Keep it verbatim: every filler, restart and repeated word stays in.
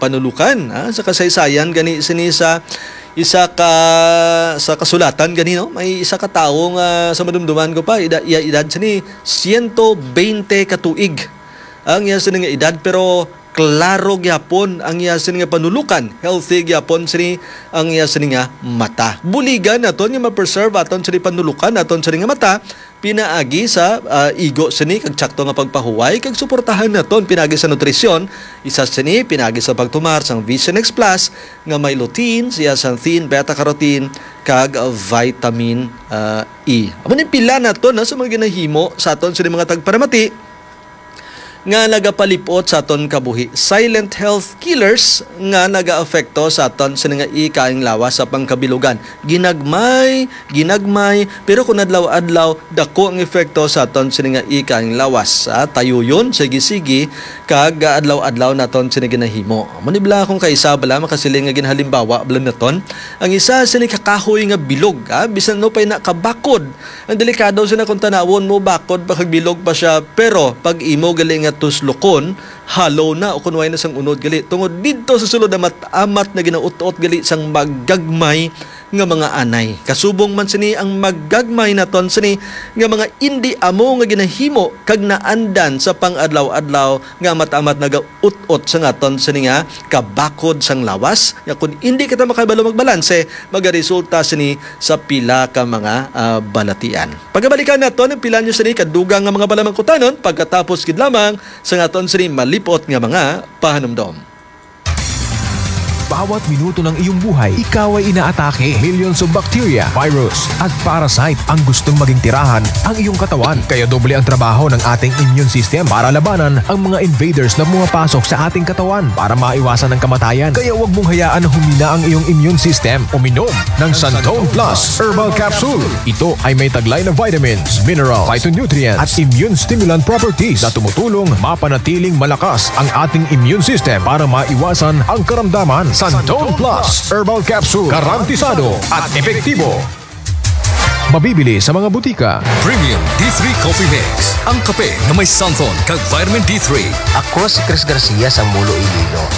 Panulukan, ah, sa kasaysayan gani sini sa isa ka, sa kasulatan gani, no? May isa ka tawo nga sa madumduman ko pa, ida-, iya edad sini siyento bente ka tuig ang iya sini nga edad, pero klaro gyapon ang iya sini nga panulukan, healthy gyapon sini ang iya sini nga mata. Buligan naton nga ma-preserve aton sini panulukan, aton sini nga mata, pinaagi sa, ah, igo sini kag tsakto nga pagpahuway kag suportahan naton pinaagi sa nutrisyon, isa sini pinaagi sa pagtumar sang Vision X Plus nga may lutein, zeaxanthin, beta carotene kag vitamin, ah, E. Amo ni pila naton, no, sa mga ginahimo sa aton sini mga tagparamati nga nagapalip-ot sa aton kabuhi. Silent health killers nga nagaapekto sa aton sini nga ikaayong lawas sa pangkabilugan. Ginagmay, ginagmay, pero kung adlaw-adlaw, dako ang epekto sa aton sini nga ikaayong lawas. Ah, tayuyon, sige-sige, kag adlaw-adlaw naton sini ginahimo. Amo ni bala akong kaisa bala makasiling nga ginhalimbawa bala naton. Ang isa sini ka kahoy nga bilog, ah, bisan ano pa'y nakabakod, ang delikado sini kung tanawon mo, bakod pa kag bilog pa siya. Pero pag imo gali nga tuslukon, hollow na o kun way na sang unod gali. Tungod didto sa sulod, amat-amat na ginaut-ot gali sang magagmay nga mga anay. Kasubong man sini ang magagmay naton sini nga mga indi amo nga ginahimo kag naandan sa pang-adlaw-adlaw nga amat-amat nagaut-ot sa ngaton sini nga kabakod sang lawas, nga kun indi kita makabalo magbalanse, magaresulta sini sa pila ka mga, ah, balatian. Pagabalikan naton ang pila nyo sini kadugang nga mga balamangkutanon pagkatapos gid lamang sa ngaton sini malipot nga mga pahanumdom. Bawat minuto ng iyong buhay, ikaw ay inaatake. Millions of bacteria, virus, at parasite ang gustong maging tirahan ang iyong katawan. Kaya doble ang trabaho ng ating immune system para labanan ang mga invaders na pumapasok sa ating katawan. Para maiwasan ang kamatayan, kaya huwag mong hayaan na humina ang iyong immune system. Uminom ng Santone Plus Herbal Capsule. Ito ay may taglay na vitamins, minerals, phytonutrients, at immune stimulant properties na tumutulong mapanatiling malakas ang ating immune system para maiwasan ang karamdaman. Santone Plus Herbal Capsule, garantisado at epektibo. Mabibili sa mga butika. Premium D three Coffee Mix, ang kape nga may santon kag vitamin D three. Ako si Chris Garcia sang Mulo, Iloilo.